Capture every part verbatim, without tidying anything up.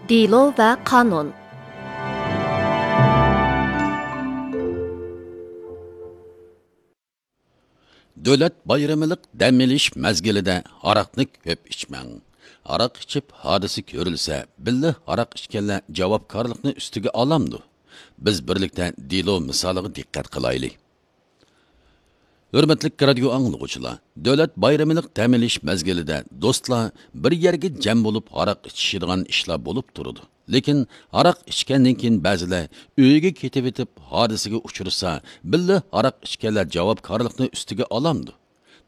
دېلو ۋە قانۇن. دۆلەت بايرىمىلىق دەم ئېلىش مەزگىلىدە ھاراقنى كۆپ ئىچمەڭ. ھاراق ئىچىپ ھادىسە كۆرۈلسە، بىللە ھاراق ئىچكەنلەر جاۋابكارلىقنى ئۈستىگە ئالامدۇ؟ بىز بىرلىكتە دېلو مىسالىغا دىققەت قىلايلى. ھۆرمەتلىك رادىيو ئاڭلىغۇچىلار، دۆلەت بايرىمىلىق دەم ئېلىش مەزگىلىدە دوستلار بىر يەرگە جەم بولۇپ ھاراق ئىچىشىدىغان ئىشلار بولۇپ تۇرىدۇ. لېكىن ھاراق ئىچكەندىن كېيىن بەزىلەر ئۆيىگە كېتىۋېتىپ ھادىسىگە ئۇچرىسا، بىللە ھاراق ئىچكەنلەر جاۋابكارلىقنى ئۈستىگە ئالامدۇ؟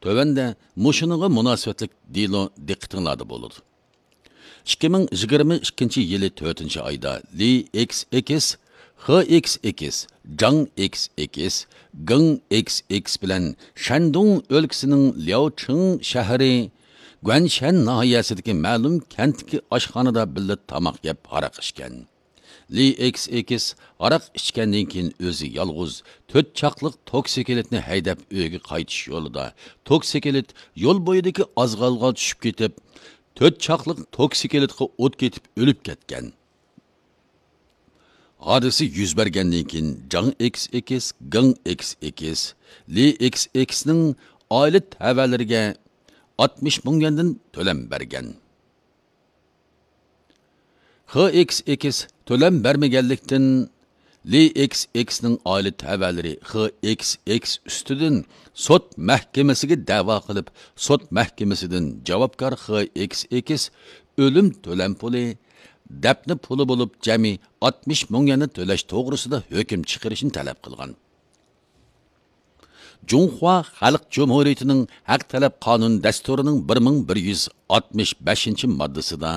تۆۋەندە مۇشۇنىڭغا مۇناسىۋەتلىك دېلو دىققىتىڭلاردا بولىدۇ. ئىككى مىڭ يىگىرمە ئىككىنچى يىلى تۆتىنچى ئايدا لى ئېكس ئېكس، خې ئېكس ئېكس، جاڭ ئېكس ئېكس، گېڭ ئېكس ئېكس بىلەن شەندۇڭ ئۆلكىسىنىڭ لياۋچىڭ شەھىرى گۇەنشەن ناھىيەسىدىكى مەلۇم كەنتتىكى ئاشخانىدا بىللە تاماق يەپ ھاراق ئىچكەن. لى ئېكس ئېكس ھاراق ئىچكەندىن كېيىن ئۆزى يالغۇز تۆت چاقلىق توكسىكلىتنى ھەيدەپ ئۆيىگە قايتىش يولىدا، توكسىكلىت يول بويىدىكى ئازغالغا چۈشۈپ كېتىپ، تۆت چاقلىق توكسىكلىتقا ئوت كېتىپ ئۆلۈپ كەتكەن. ھادىسە يۈز بەرگەندىن كېيىن جاڭ ئېكس ئېكس، گېڭ ئېكس ئېكس، لى ئېكس ئېكسنىڭ ئائىلە تەۋەلىرىگە ئاتمىش مىڭ يۈەندىن تۆلەم بەرگەن. خې ئېكس ئېكس تۆلەم بەرمىگەنلىكتىن، لى ئېكس ئېكسنىڭ ئائىلە تەۋەلىرى خې ئېكس ئېكس ئۈستىدىن سوت مەھكىمىسىگە دەۋا قىلىپ، سوت مەھكىمىسىدىن جاۋابكار خې ئېكس ئېكس ئۆلۈم تۆلەم پۇلى، دەپنە پۇلى بولۇپ جەمئىي ئاتمىش مىڭ يۈەننى تۆلەش توغرىسىدا ھۆكۈم چىقىرىشنى تەلەپ قىلغان. جۇڭخۇا خەلق جۇمھۇرىيىتىنىڭ ھەق تەلەپ قانۇن دەستۇرىنىڭ بىر مىڭ بىر يۈز ئاتمىش بەشىنچى ماددىسىدا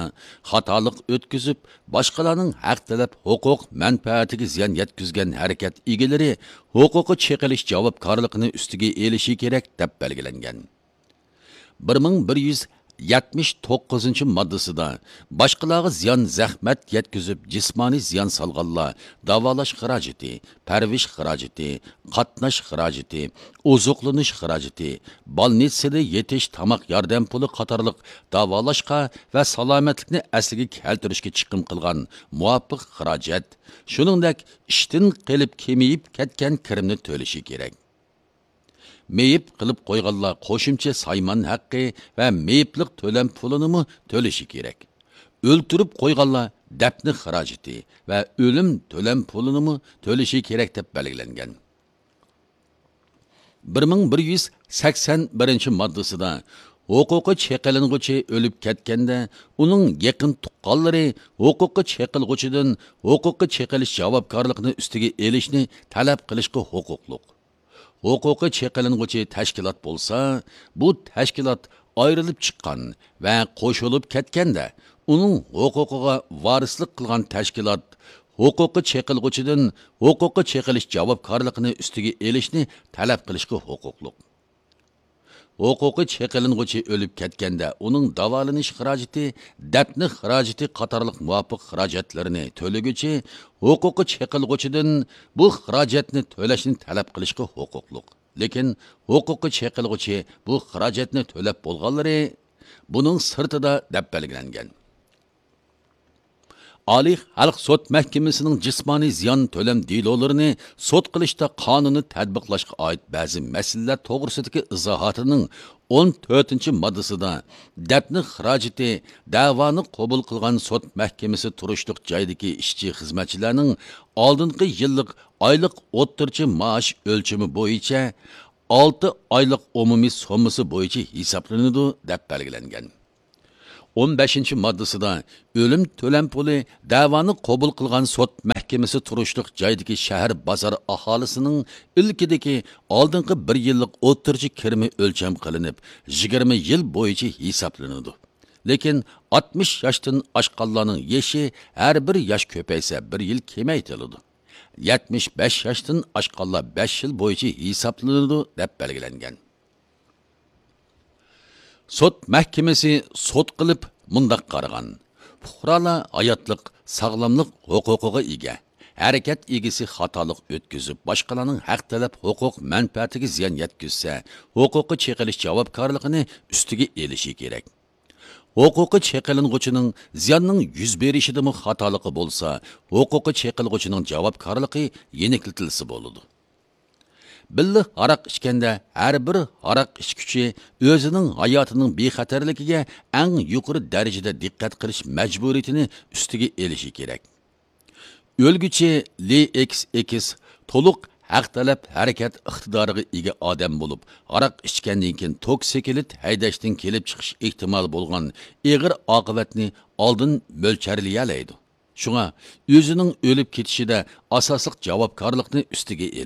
خاتالىق ئۆتكۈزۈپ، باشقىلارنىڭ ھەق تەلەپ ھوقۇق مەنپەئەتىگە زىيان يەتكۈزگەن ھەرىكەت ئىگىلىرى ھوقۇققا چېقىلىش جاۋابكارلىقىنى ئۈستىگە ئېلىشى كېرەك، دەپ بەلگىلەنگەن. بىر مىڭ بىر يۈز يەتمىش توققۇزىنچى ماددىسىدا باشقىلارغا زىيان، زەخمەت يەتكۈزۈپ، جىسمانىي زىيان سالغانلار داۋالاش خىراجىتى، پەرۋىش خىراجىتى، قاتناش خىراجىتى، ئوزۇقلىنىش خىراجىتى، بالنىتسىدا يېتىش، تاماق ياردەم پۇلى قاتارلىق داۋالاشقا ۋە سالامەتلىكنى ئەسلىگە كەلتۈرۈشكە چىقىم قىلغان مۇۋاپىق خىراجەت، شۇنىڭدەك ئىشتىن قېلىپ كېمىيىپ كەتكەن كىرىمنى تۆلىشى كېرەك. مېيىپ قىلىپ قويغانلار قوشۇمچە سايمان ھەققى ۋە مېيىپلىق تۆلەم پۇلىنىمۇ تۆلىشى كېرەك. ئۆلتۈرۈپ قويغانلار دەپنە خىراجىتى ۋە ئۆلۈم تۆلەم پۇلىنىمۇ تۆلىشى كېرەك، دەپ بەلگىلەنگەن. بىر مىڭ بىر يۈز سەكسەن بىرىنچى ماددىسىدا ھوقۇقى چېقىلىنغۇچى ئۆلۈپ كەتكەندە، ئۇنىڭ يېقىن تۇغقانلىرى ھوقۇقى چېقىلغۇچىدىن ھوقۇقى چېقىلىش جاۋابكارلىقىنى ئۈستىگە ئېلىشنى تەلەپ قىلىشقا ھوقۇقلۇق. ھوقۇقى چېقىلىنغۇچى تەشكىلات بولسا، بۇ تەشكىلات ئايرىلىپ چىققان ۋە قوشۇلۇپ كەتكەندە، ئۇنىڭ ھوقۇقىغا ۋارىسلىق قىلغان تەشكىلات ھوقۇقى چېقىلغۇچىدىن ھوقۇقى چېقىلىش جاۋابكارلىقىنى ئۈستىگە ئېلىشنى تەلەپ قىلىشقا ھوقۇقلۇق. ھوقۇقى چېقىلىنغۇچى ئۆلۈپ كەتكەندە، ئۇنىڭ داۋالىنىش خىراجىتى، دەپنە خىراجىتى قاتارلىق مۇۋاپىق خىراجەتلىرىنى تۆلىگۈچى ھوقۇقى چېقىلغۇچىدىن بۇ خىراجەتنى تۆلەشنى تەلەپ قىلىشقا ھوقۇقلۇق. لېكىن ھوقۇقى چېقىلغۇچى بۇ خىراجەتنى تۆلەپ بولغانلىرى بۇنىڭ سىرتىدا، دەپ بەلگىلەنگەن. ئالىي خەلق سوت مەھكىمىسىنىڭ جىسمانىي زىيان تۆلەم دېلولىرىنى سوت قىلىشتا قانۇننى تەتبىقلاشقا ئائىت بەزى مەسىلىلەر توغرىسىدىكى ئىزاھاتىنىڭ ئون تۆتىنچى ماددىسىدا، دەپنە خىراجىتى دەۋانى قوبۇل قىلغان سوت مەھكىمىسى تۇرۇشلۇق جايدىكى ئىشچى، خىزمەتچىلەرنىڭ ئالدىنقى يىللىق ئايلىق ئوتتۇرىچە مائاش ئۆلچىمى بويىچە ئالتە ئايلىق ئومۇمىي سوممىسى بويىچە ھېسابلىنىدۇ، دەپ بەلگىلەنگەن. ئون بەشىنچى ماددىسىدا ئۆلۈم تۆلەم پۇلى دەۋانى قوبۇل قىلغان سوت مەھكىمىسى تۇرۇشلۇق جايدىكى شەھەر، بازار ئاھالىسىنىڭ ئىلكىدىكى ئالدىنقى بىر يىللىق ئوتتۇرىچە كىرىمى ئۆلچەم قىلىنىپ، يىگىرمە يىل بويىچە ھېسابلىنىدۇ. لېكىن ئاتمىش ياشتىن ئاشقانلارنىڭ يېشى ھەر بىر ياش كۆپەيسە، بىر يىل كېمەيتىلىدۇ. يەتمىش بەش ياشتىن ئاشقانلار بەش يىل بويىچە ھېسابلىنىدۇ، دەپ بەلگىلەنگەن. سوت مەھكىمىسى سوت قىلىپ مۇنداق قارىغان: پۇقرالار ھاياتلىق، ساغلاملىق ھوقۇقىغا ئىگە. ھەرىكەت ئىگىسى خاتالىق ئۆتكۈزۈپ، باشقىلارنىڭ ھەق تەلەپ ھوقۇق مەنپەئەتىگە زىيان يەتكۈزسە، ھوقۇققا چېقىلىش جاۋابكارلىقىنى ئۈستىگە ئېلىشى كېرەك. ھوقۇقى چېقىلىنغۇچىنىڭ زىياننىڭ يۈز بېرىشىدىمۇ خاتالىقى بولسا، ھوقۇقى چېقىلغۇچىنىڭ جاۋابكارلىقى يېنىكلىتىلسە بولىدۇ. بىللە ھاراق ئىچكەندە ھەر بىر ھاراق ئىچكۈچى ئۆزىنىڭ ھاياتىنىڭ بىخەتەرلىكىگە ئەڭ يۇقىرى دەرىجىدە دىققەت قىلىش مەجبۇرىيىتىنى ئۈستىگە ئېلىشى كېرەك. ئۆلگۈچى لى ئېكس ئېكس تولۇق ھەق تەلەپ ھەرىكەت ئىقتىدارىغا ئىگە ئادەم بولۇپ، ھاراق ئىچكەندىن كېيىن توكسىكلىت ھەيدەشتىن كېلىپ چىقىش ئېھتىمالى بولغان ئېغىر ئاقىۋەتنى ئالدىن مۆلچەرلىيەلەيدۇ. شۇڭا ئۆزىنىڭ ئۆلۈپ كېتىشىدە ئاساسلىق جاۋابكارلىقنى ئۈستىگە ئېلىش